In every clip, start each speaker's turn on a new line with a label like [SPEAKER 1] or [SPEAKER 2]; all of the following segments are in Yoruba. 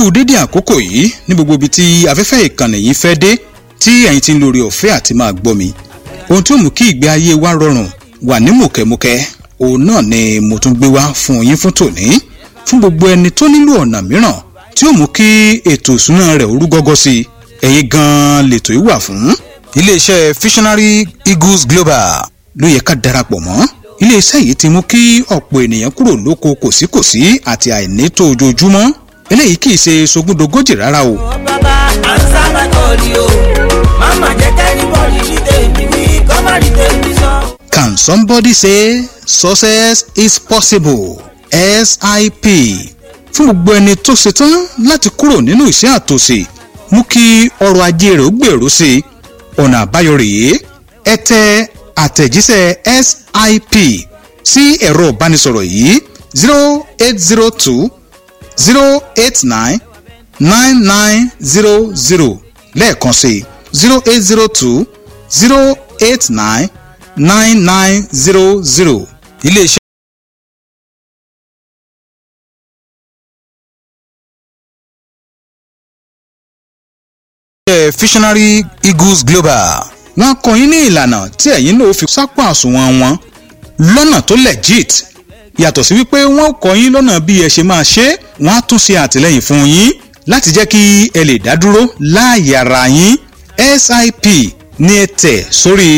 [SPEAKER 1] Ẹ kú dédé àkókò yìí ní gbogbo ibi tí afẹ́fẹ́ ìkànnì yìí fẹ́ dé, tí ẹ̀yin ti ń lórí ọ̀fẹ́ àti máa gbọ́ mi. Ohun tó mú kí ìgbé ayé wa rọrùn wà ní mùkẹ́mùkẹ́, òun náà ni mo tún gbé wá fún yín fún tòní. Fún gbogbo ẹni tó nílò ọ̀nà mìíràn tí ó mú kí ètò ìṣúná rẹ̀ ó rú gọ́gọ́ sí i, ẹ̀yin gan-an lètò yìí wà fún. Iléeṣẹ́ Visionary Eagles Global ló yẹ ká darapọ̀ mọ́. Iléeṣẹ́ yìí ti mú kí ọ̀pọ̀ ènìyàn kúrò lóko kòsíkòsí àti àìnító ojoojúmọ́. Eléyìí kì í ṣe sogúndogójì rárá o.
[SPEAKER 2] Bàbá answer my call o, mama jẹ́ k'anybody rí tèmi wí, kó má rí tèmi sọ.
[SPEAKER 1] Can somebody say success is possible? SIP. Fún gbogbo ẹni tó ṣetán láti kúrò nínú ìṣẹ́ àtòṣì, mú kí ọrọ̀ ajé rẹ̀ ó gbèrú sí i, ọ̀nà àbáyọ rèé. Ẹ tẹ àtẹ̀jíṣẹ́ SIP sí ẹ̀rọ ìbánisọ̀rọ̀ yìí: 08020899900. Lẹ́ẹ̀kan sí: 08020899900. Iléeṣẹ́ Visionary Eagles Global, wọ́n kọ́ yín ní ìlànà tí ẹ̀yin náà fi sápò àsùnwọ̀n wọn lọ́nà tó legit. Yàtọ̀ sí wípé wọ́n kọ́ yín lọ́nà bí ẹ ṣe máa ṣe, wọ́n á tún ṣe àtìlẹ́yìn fún yín láti jẹ́ kí ẹ lè dá dúró láàyè ara yín. SIP ní ẹ tẹ̀ sórí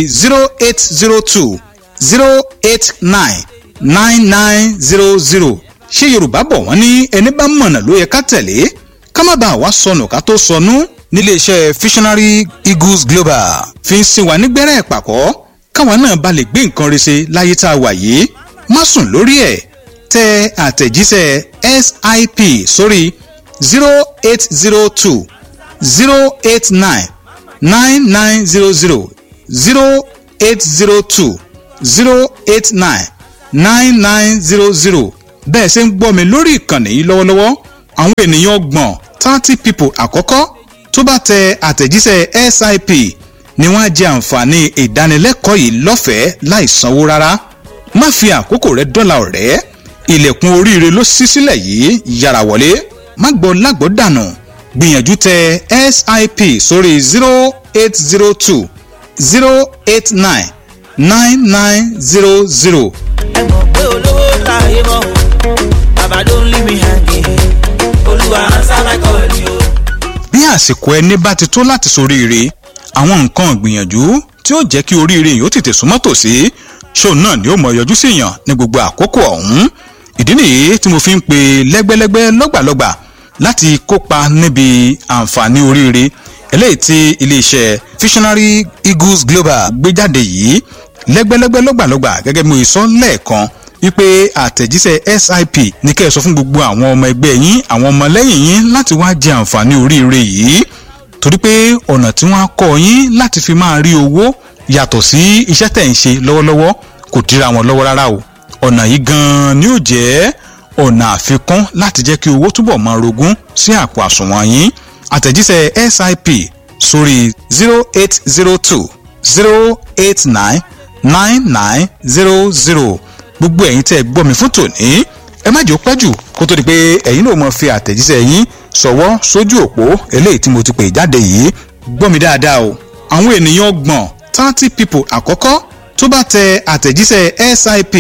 [SPEAKER 1] 08020899900. Ṣé Yorùbá bọ̀, wọ́n ní ẹni bá mọ̀nà ló yẹ ká tẹ̀lé, ká má bàa wá sọnù ká tó sọnù. Níléeṣẹ́ Visionary Eagles Global fi ń sin wa nígbẹ́rẹ́ ìpàkọ́, káwa náà ba lè gbé nǹkan rẹ̀ ṣe láyé tá a wà yìí. Má sùn lórí ẹ̀, tẹ àtẹ̀jíṣẹ́ SIP sórí 08020899900, 08020899900. Bẹ́ẹ̀ ṣe ń gbọ́ mi lórí ìkànnì yìí lọ́wọ́lọ́wọ́, àwọn ènìyàn 30, 30 people àkọ́kọ́ tó bá tẹ àtẹ̀jíṣẹ́ SIP ni wọ́n á jẹ àǹfààní ìdánilẹ́kọ̀ọ́ yìí lọ́fẹ̀ẹ́ láì sanwó rárá. Má fi àkókò rẹ dọ́là, ọ̀rẹ́. Ilẹ̀kùn oríire ló ṣí sílẹ̀ yìí, yára wọlé, má gbọ́ lágbọ́ dànù. Gbìyànjú tẹ SIP sórí 08020899900.
[SPEAKER 2] Ẹ mọ̀ pé olówó láyé mọ́ o, bàbá don't leave me hanging, Olúwa answer my call o.
[SPEAKER 1] Bí àsìkò ẹni bá ti tó láti soríire, àwọn nǹkan ìgbìyànjú tí ó jẹ́ kí oríire yìí ó tètè súnmọ́ tòsí, ṣóun náà ni ó mọ̀ yọjú sí yàn ní gbogbo àkókò ọ̀hún. Ìdí nìyí tí mo fi ń pe lẹ́gbẹ́lẹ́gbẹ́, lọ́gbàlọ́gbà láti kópa níbi àǹfààní oríire eléyìí tí iléeṣẹ́ Visionary Eagles Global gbé jáde yìí. Lẹ́gbẹ́lẹ́gbẹ́, lọ́gbàlọ́gbà, gẹ́gẹ́ bí mo sọ lẹ́ẹ̀kan wípé àtẹ̀jíṣẹ́ SIP ní kẹ́ ẹ sọ fún gbogbo àwọn ọmọ ẹgbẹ́ yín, àwọn ọmọlẹ́yìn yín láti wá jẹ àǹfààní oríire yìí, torí pé ọ̀nà tí wọ́n á kọ́ yín láti fi máa rí owó yàtọ̀ sí iṣẹ́ tẹ̀ ń ṣe lọ́wọ́lọ́wọ́ kò dira wọn lọ́wọ́ rárá o. Ọ̀nà yìí gan-an ni ó jẹ́ ọ̀nà àfikún láti jẹ́ kí owó túbọ̀ máa rogún sí àpò àsùnwọ̀n yín. Àtẹ̀jíṣẹ́ SIP sórí 08020899900. Gbogbo ẹ̀yin tẹ́ ẹ gbọ́ mi fún tòní, ẹ má jẹ́ ó pẹ́ jù kó tó di pé ẹ̀yin náà mọ̀ fi àtẹ̀jíṣẹ́ yín ṣọwọ́ sójú òpó eléyìí tí mo ti pè jáde yìí. Gbọ́ mi dáadáa o, àwọn ènìyàn 30, 30 people àkọ́kọ́ tó bá tẹ àtẹ̀jíṣẹ́ SIP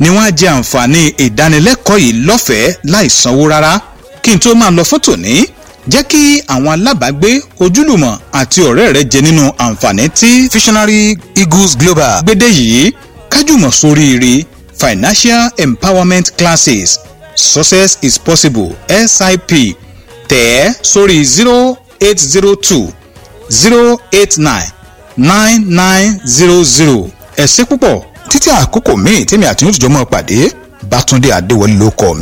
[SPEAKER 1] ni wọ́n á jẹ àǹfààní ìdánilẹ́kọ̀ọ́ yìí lọ́fẹ̀ẹ́ láì sanwó rárá. Kí n tó máa lọ fún tòní, jẹ́ kí àwọn alábàágbé, ojúlùmọ̀ àti ọ̀rẹ́ rẹ jẹ nínú àǹfààní tí Visionary Eagles Global gbédè yìí. Kájùmọ̀ sóríire. Financial Empowerment Classes, Success is Possible, SIP, tẹ̀ ẹ́ sórí 08020899900. Ẹ ṣé púpọ̀. Títí àkókò míì tèmi àti yóò tìjọ́ mọ́ pàdé, Bátúndé Adéwọlé ló kọ́ mi.